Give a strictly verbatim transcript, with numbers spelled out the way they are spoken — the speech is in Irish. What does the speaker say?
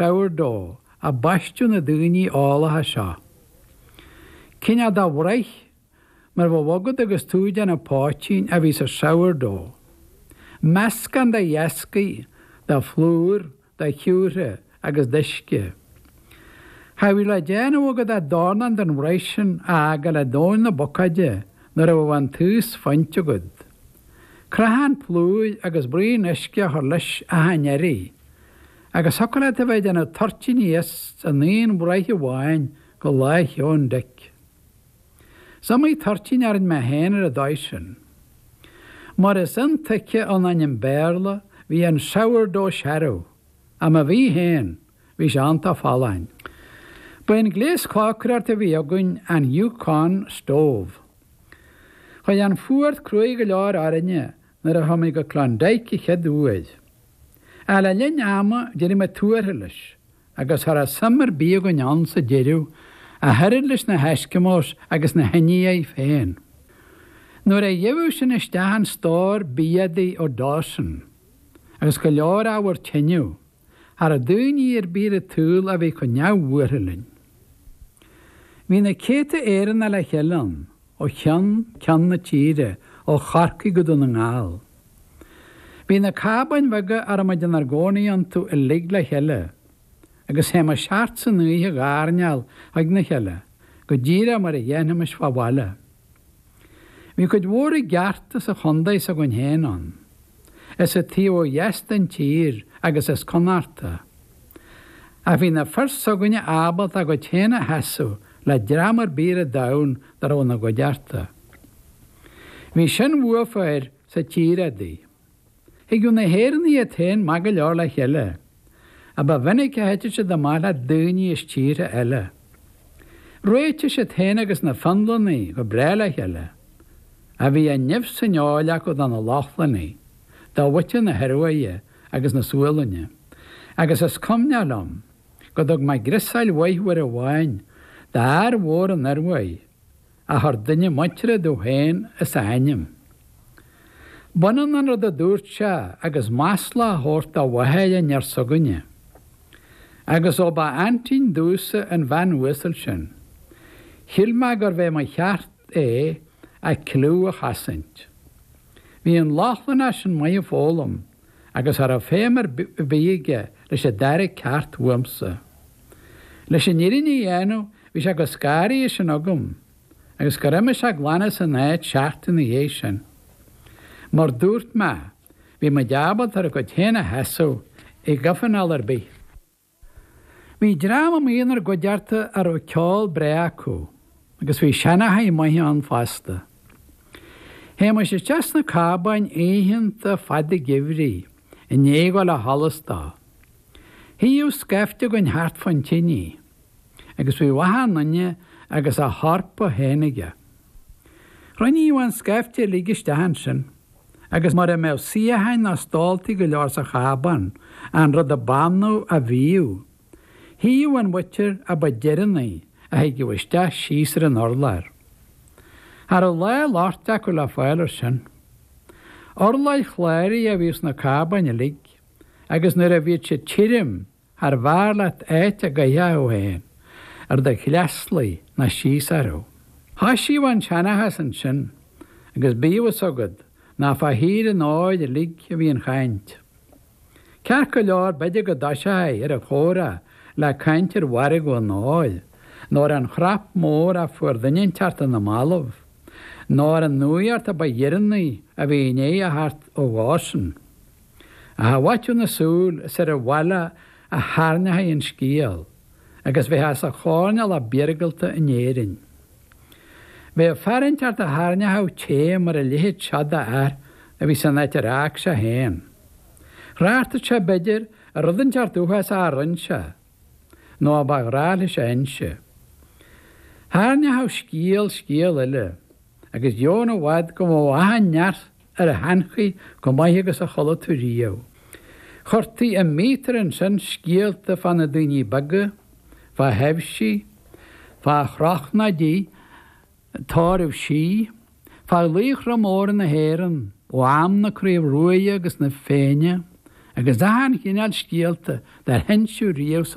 Sourdough a baisteadh na daoine eolacha seo. Cineál de bhraich mar a bheadh agat agus tú ag déanamh poitín a bhí sa sourdough. Meascán de dheascaí, de phlúr, de shiúcra agus d'uisce. Cha bhíodh le déanamh agat ach dornán den bhraich sin a fhágáil i dtóin na bocáide nuair a bheadh an taos fuinte agat. Creathán plúir agus braon uisce a chur leis achan iarraidh, agus thiocfadh leat a bheith ag déanamh toirtíní as an aon bhraich amháin go Lá Sheoin Dic. Is iomaí toirtín a rinne mé féin ar an dóigh sin. Mar is intuigthe ón ainm Béarla, bhí an sourdough searbh, ach má bhí féin, bhí sé iontach folláin. Ba é an gléas cócaireachta a bhí againn an Yukon stove. Chuaigh an fuacht cruaidh go leor orainne nuair a chuaigh muid go Klondike an chéad uair. Ach le linn ama d'éirigh muid tuartha leis, agus cha raibh suim ar bith againn ann sa deireadh ach oiread leis na hEisceamós agus na hIndiaigh féin. Nuair a gheibheadh sinn isteach an stór bia-éadaí ó Dawson, agus go leor ábhar tineadh, cha raibh daoine ar bith ar an tsaol a bhí chomh neamhbhuartha linn. Bhí na céadta Éireannach le chéile ann, ó cheann ceann na tíre, ó Chorcaigh go Dún na nGall. Bhí na cábáin bheaga a raibh muid inár gcónaí iontu uilig le chéile, agus théimis thart san oíche ag airneál chuig na chéile, go díreach mar a dhéanfaimis fá bhaile. Bhí cuid mhór i gceart as an chontae s'againn féin ann, as an taobh ó dheas den tír agus as Connachta. Ach bhí na fir s'againne ábalta a gcuid féin a sheasamh le dream ar bith ar an domhan dá raibh ina gcuideachta. Bhí sin uafa air sa tír adaí. Thigeadh na hÉireannaigh iad féin maith go leor le chéile, ach ba mhinic a thiteadh siad amach le daoine as tíortha eile. Réitigh siad féin agus na Fionlannaigh go breá le chéile, ach bhí an nimh san fheoil acu do na Lochlannaigh, do mhuintir na hIoruaidhe agus na Sualainne, agus is cuimhneach liom go dtug mé griosáil mhaith uair amháin d'fhear mhór an Ioruaidh a chuir duine muinteartha domh féin as a ainm. B'ionann an rud a dúirt sé agus masla a thabhairt do mháthair an fhir s'againne. Agus ó ba aintín domhsa an bhean uasal sin, shíl mé gurbh é mo cheart é a cliú a chosaint. Bhí an Lochlannach sin maith ag foghlaim agus cha raibh feidhm ar bith aige leis an dara ceacht uaimsa. Leis an fhírinne a dhéanamh, bhí sé chomh scanraithe sin agam agus gur imigh sé glan as an áit seachtain ina dhiaidh sin. Mar dúirt mé, bhí muid ábalta ár gcuid féin a sheasamh i gcoirnéal ar bith. Bhí dream amuigh inár gcuideachta a raibh ceol breá acu, agus bhí seanchaithe maithe ann fosta. Théimis isteach sna cábáin oícheanta fada geimhridh i ndiaidh a ghabháil a sholas dó. Shuíodh scaifte againn thart fán tinidh, agus bhíodh achan nduine agus a shorpa féin aige. Chruinníodh an scaifte uilig isteach ansin, agus mura mbeadh suíocháin ná stóltaí go leor sa chábán, an rud a b'annamh a bhíodh, shuíodh an mhuintir a ba deireanaí a thigeadh isteach síos ar an urlár. Cha raibh lá loicht acu le fáil air sin. Urláir chláraithe a bhíodh sna cábáin uilig, agus nuair a bhíodh siad tirim charbh fhearr leat áit a gcuirfeá thú féin, ar do chleaslaigh ná síos orthu. Thoisíodh an seanchas ansin, agus bíodh fhios agat nach fá thír an óir uilig a bhí an chaint. Ceart go leor, b'fhéidir go dtoiseofaí ar an chomhrá le caint ar mhargadh an óir, nó ar an chnap mór a fuair duine inteacht ar na mallaibh, nó ar an nuaíocht a ba dheireanaí a bhí i ndiaidh a theacht ó Dawson. Ach i bhfaiteadh na súl is ar an bhaile a thairneochaí an scéal, agus bheifeá sa choirnéal ab iargúlta in Éirinn. Bheadh fear inteacht a thairneochadh taom ar a leithéid seo d'fhear a bhí san áit ar fhág sé féin. Thráchtadh sé, b'fhéidir, ar rud inteacht uafásach a rinne sé, nó a ba ghnách leis a inse. Thairneochadh scéal scéal eile, agus dheamhan i bhfad go mbeadh achan neart ar a sheanchaí chomh maith agus a chuala tú riamh. Chuirtí i míotar ansin scéalta fá na daoine beaga, fá thaibhsí, fá chrochnóidí tórraimh sí, fá laochra móra na hÉireann ó am na Craoibhe Ruaidhe agus na Féinne agus achan chineál scéalta dár hinseadh riamh sa